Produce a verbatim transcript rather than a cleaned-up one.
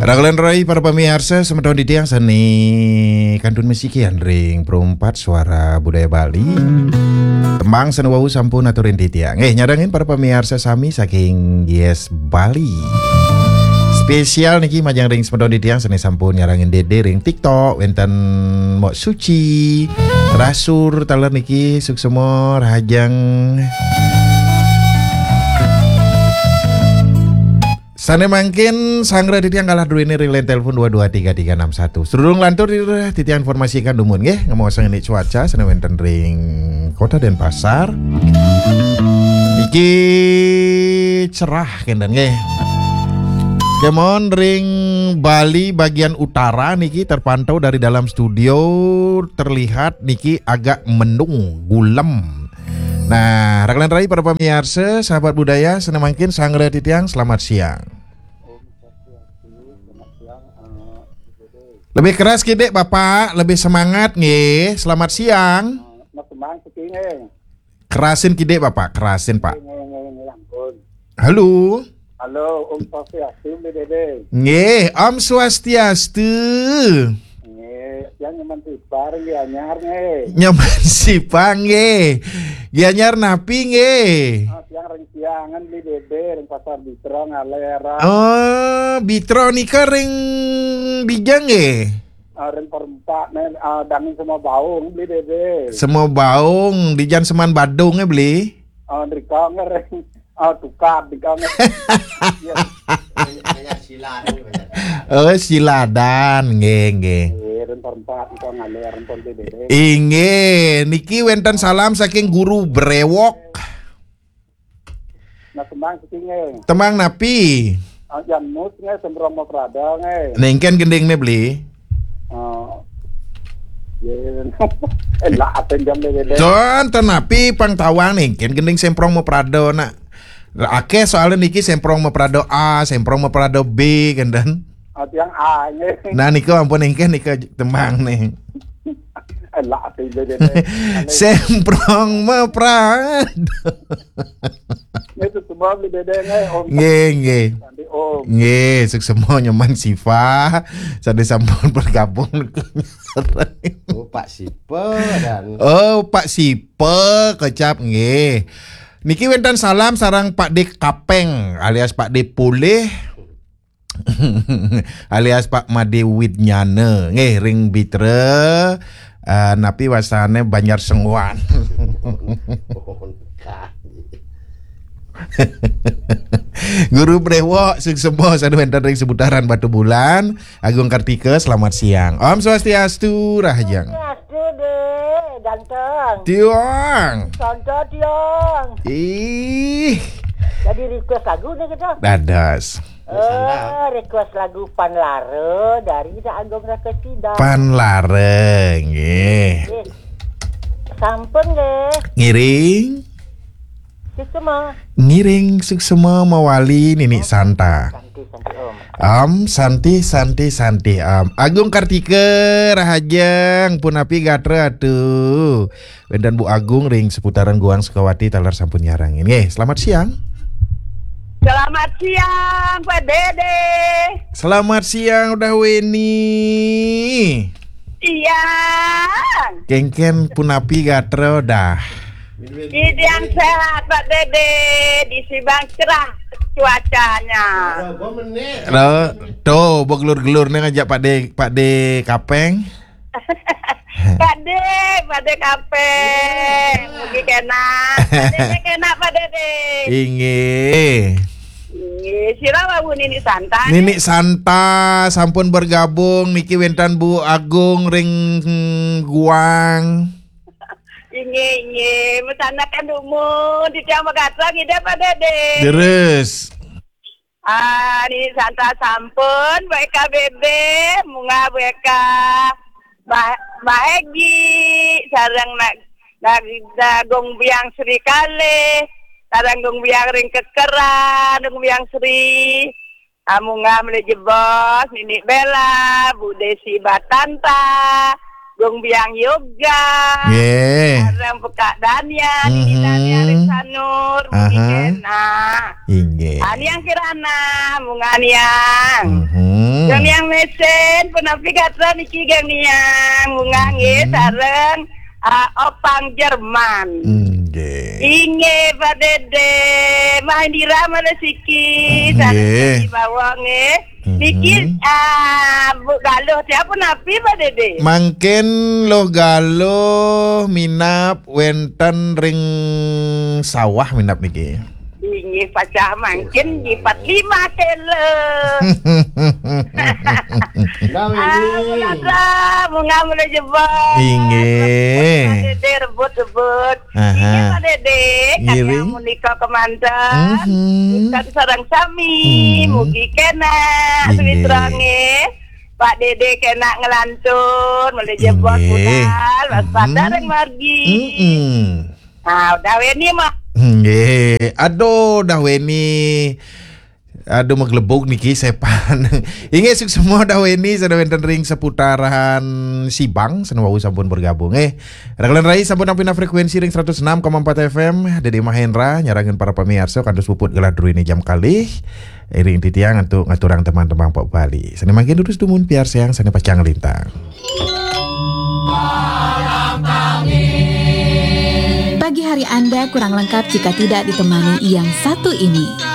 Raglan rai para pamiarsa, semeton titiang sane kantun masikian ring Perempat Suara Budaya Bali. Tembang sane wau sampun aturin titiang. Nggih, nyarengin para pamiarsa sami saking Yes Bali. Spesial niki majeng ring semeton titiang sane sampun nyarengin Dede ring TikTok, wenten Mok Suci, Rasur, taler niki, suksema, rahajeng. Sane mangkin sanggra titiang kalah druene ring line telepon dua dua tiga tiga enam satu. Sedurung lantur titiang informasikan dumun nggih, ngemaosang ini cuaca sane wenten ring Kota Denpasar. Niki cerah kenten nggih. Kemon ring Bali bagian utara niki terpantau dari dalam studio terlihat niki agak mendung, gulem. Nah, raglan rai para pamiarsa, sahabat budaya, sane mangkin sanggra titiang, selamat siang. Lebih keras kidik, Bapak, lebih semangat nggih. Selamat siang. Kerasin kidik, Bapak, kerasin, Pak. Halo. Halo, Om Swastiastu, Bli Dede. Nggih, Om Swastiastu. Nggih, tiang nyaman sipang nggih, anyar nggih. Nyaman sipang nggih. Gianyar napi nggih? Ah, tiang ring Siangan, Bli Dede, ring Pasar Bitra ngaler. Oh, Bitra nika ring dija nggih? Ah, ring Perempat, nen, ah, dangin Semobaung, Bli Dede. Semobaung, dijan seman Badung, eh, Bli? Ah, drika nge ring, ah, tukad, drika nge. Iya. Oh, Siladan, nggih, nggih. Iya, ring Perempat, nika ngaler, ring Pondok Dede. Inggih, niki wenten salam saking Guru Brewok. Nah, tembang siki nggih. Tembang napi? Ah, Jan Mus nggih, Semprong Maprada nggih. Nengken gendingne, Bli? Oh. Yen. Eh, lah, apa jam deh, deh? Don, ten napi pang tawang nengken gending Semprong Maprada nak. Akeh soalnya niki Semprong Maprada A, Semprong Maprada B, kenten. Ah, tiang A nggih. Nah, nika ampun nengken nika tembang nih. Eh, lah, apa jam deh, deh? Semprong Maprada. Nggih, suksema Bli Dede nggih, Om. Nggih, nggih. Sandi, Om. Nggih, suksema nyaman sipang. Sandi sampun bergabung. Oh, Pak Sipe dan Oh, Pak Sipe kecap nggih. Niki wenten salam sareng Pak De Kapeng alias Pak De Pulih. Alias Pak Made Widnyana nggih ring Bitra, eh, napi wasane Banjar Senguan. Guru Brewok, suksema sane wenten ring seputaran Batubulan, Agung Kartika, selamat siang. Om Swastiastu, Rahajeng. Swastiastu, Dek, ganteng. Tiang. Santo Tiang. Ih. Jadi request lagu nih kita. Dados. Eh, request lagu Panlara dari Ida Agung Rakasida. Panlara, nggih. Nggih. Sampun, nggih. Ngiring. Suksema. Ngiring suksema mawali Nini Santa. Santi, Santi, Om. Om, Santi, Santi, Santi, Om. Agung Kartika, Rahajeng, punapi gatra atuh. Wenten Bu Agung ring seputaran Guang Sukawati taler sampun nyarengin. Nggih, selamat siang. Selamat siang, Pak Dede. Selamat siang, Udah Weni. Iya. Kengken punapi gatra dah. Idian sehat, Pak Dede. Di Sibang cerah cuacanya. Lo, tuh, begelur-gelur nih ngajak Pak De, Pak De Kapeng. Pak De, Pak De Kapeng. Mugi kena. Pak De kena, Pak Dede. Inggih. Inggih, sira wau Nini Santa. Nini Santa sampun bergabung niki wenten Bu Agung ring, hmm, Guang. Inggih, inggih. Mesanakan dumun, titiang magatra ngidih, Pak Dede. Terus. Ah, Nini Santa sampun, Bu Eka Bebe, munggah Bu Eka Bah-, Bah Egi, sareng na-, na-, na-, Gung Biang Sri kalih, sareng Gung Biang ring kekeran, Gung Biang Sri. Ah, munggah malih jebos, Nini Bella, Bu Desi Batanta, Gung Biang Yoga, nggih. Sareng Pekak Dania, Nini Mhm. Dania ring Sanur, Nini Aha. Kena. Inggih. Ah, Niang Kirana, munggah Niang. Mhm. Geng Niang Mesen, punapi gatra niki Geng Niang, Bunga nggih, sareng, ah, Opang Jerman. Nggih. Inggih, Pak Dede, Mah Indira malih siki, sareng Nggih. Siki Bawang nggih. Niki, ah, Bu Galuh, siapa napi, Pak Dede? Mangkin Luh Galuh minab wenten ring sawah minab niki. Inggih, pacah mangkin nyipat lima kilo. Ah, Bunga, Bunga mulai jebak. Inggih. Pak Dede rebut-rebut. Aha. Inggih, Pak Dede, kami Ngiring. Amunika kemanten. Mhm. Kita sareng sami, Mhm. Mugi kena, Inggih. Sumitra nggih. Pak Dede kena ngelantun, mulai jebak Inggih. Budal, waspada Mhm. Ring margi. Mhm. Ah, udah weni, Mak. Nggih. Aduh, udah weni. Aduh, maglebug niki sepan. Inggih, suksma dah weni, sada wenten ring seputaran Sibang, sane wau sampun bergabung, eh. Raglan Rai sampun nampina frekuensi ring seratus enam koma empat F M, Dede Mahendra, nyarengin para pamiarsa, kantos puput gelah druene jam kalih. Iring titiang antuk ngaturang teman-teman Pak Bali. Sane mangkin durus dumun piarsayang sane pacang lintang. Pagi hari Anda kurang lengkap jika tidak ditemani yang satu ini.